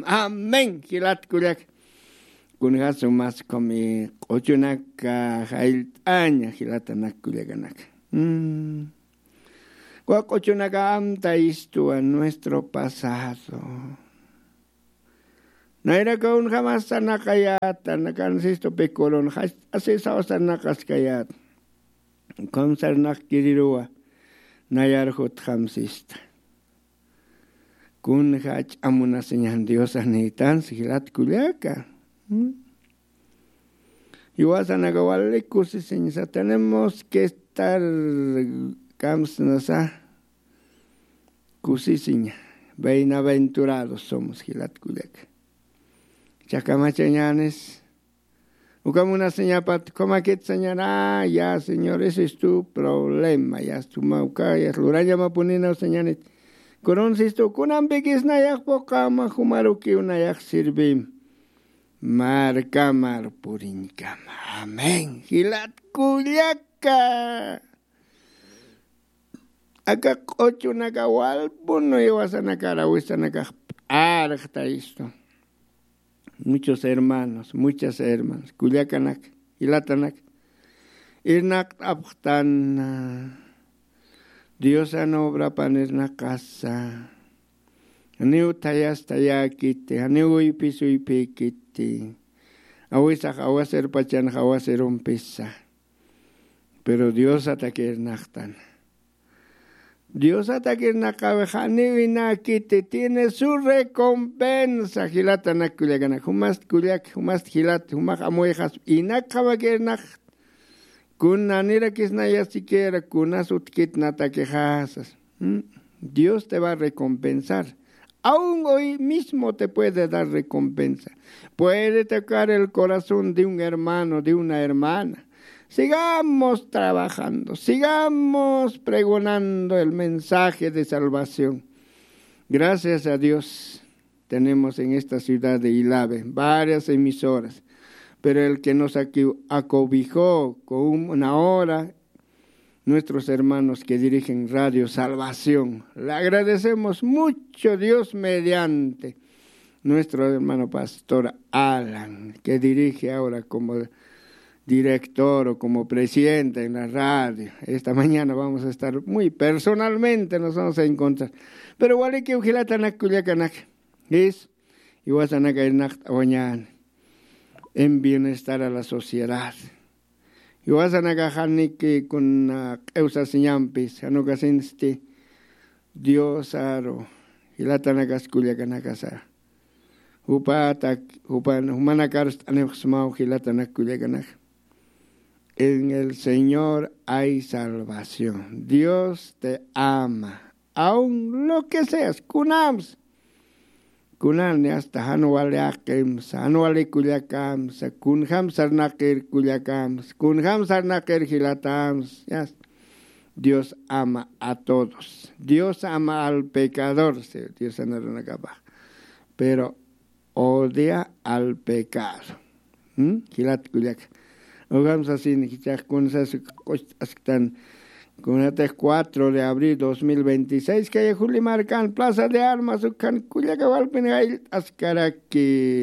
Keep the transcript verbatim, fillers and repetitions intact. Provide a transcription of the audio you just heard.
Amén, jilat kullak. Kunjasu mas kumi q'uchunaka jayllt'aña, jilatanak kullakanaka. Mm. Wa q'uchunaka amta istuwa nuestro pasado. Nayraka unjamas sarnaqayata, nakan sistu pikulun, asisaw sarnaqaskayat. Ukham sarnaqkiriruwa, nayar jutjam sista. Kunja ch'amunasiñan Dios anïtan, jilat kullaka. ¿Mm? Jiwasanaka wali kusisiñsa, tenemos que estar kamsnasa kusisiña. Bienaventurados somos, jilat kullaka. Chakamachañanis. Uka munasiñapat, kumakit señor, ah, ya, señor, ese es tu problema, ya, suma uka, ya, lurañamapuninaw señanit. Kunun sistu, kunampikis nayax puqama, jumarukiw nayax sirvim. Markamar puriñkama. Amén. Jilat kullaka. Aka q'uchunaka walpun jiwasanakar awisanakax p'arxta istu. Muchos hermanos, muchas hermanas, kullakanak, jilatanak, irnaqt'apxtan, Diosan obrapan irnaqasa. Janiw thayas thayäkiti, janiw uypis uypïkiti. Awisax awasirpachanx awasirumpisa. Pero Diosatak irnaqtan. Diosatak irnaqäwix janiw inäkiti, tiene su recompensa, jilatanak kullakanak. Jumast kullak, jumast jilat, jumax amuyxas, inakxamak irnaqta. Kun nanirakis naya siquiera, kunas utjkit natakixasas. ¿Mm? Dios te va a recompensar. Aún hoy mismo te puede dar recompensa. Puede tocar el corazón de un hermano, de una hermana. Sigamos trabajando, sigamos pregonando el mensaje de salvación. Gracias a Dios, tenemos en esta ciudad de Ilave varias emisoras, pero el que nos acu-, acobijó con una hora nuestros hermanos que dirigen Radio Salvación. Le agradecemos mucho, Dios mediante, nuestro hermano pastor Alan, que dirige ahora como director o como presidente en la radio. Esta mañana vamos a estar muy personalmente, nos vamos a encontrar. Pero walikiw jilatanak kullakanak, es, jiwasanaka irnaqt'awañäni, en bienestar a la sociedad. Jiwasanakax janiki kuna q'iwsasiñampis, jan ukasinsti Dios aru, jilatanakas kullakanakasa. Jupatak, jupan, jumanakarst'anipxsmaw jilatanak kullakanak. En el Señor hay salvación. Dios te ama. Aun lo que seas, kunams. Kunani hasta jan wali aqimsa, jan wali kullakamsa, kunjam sarnaqir kullakamsa, kunjam sarnaqir jilatamsa. Ya está. Dios ama a todos. Dios ama al pecador, sí, Dios sanarunakapax. Pero odia al pecado. ¿Mm? Jilat kullaka. Ukham sasin jichhax kunsas q'ucht'asktan. Kunatix cuatro de abril dos mil veintiséis, kay Juli markan Plaza de Armas, ukhan kullaka walpin jayllt'askaraki.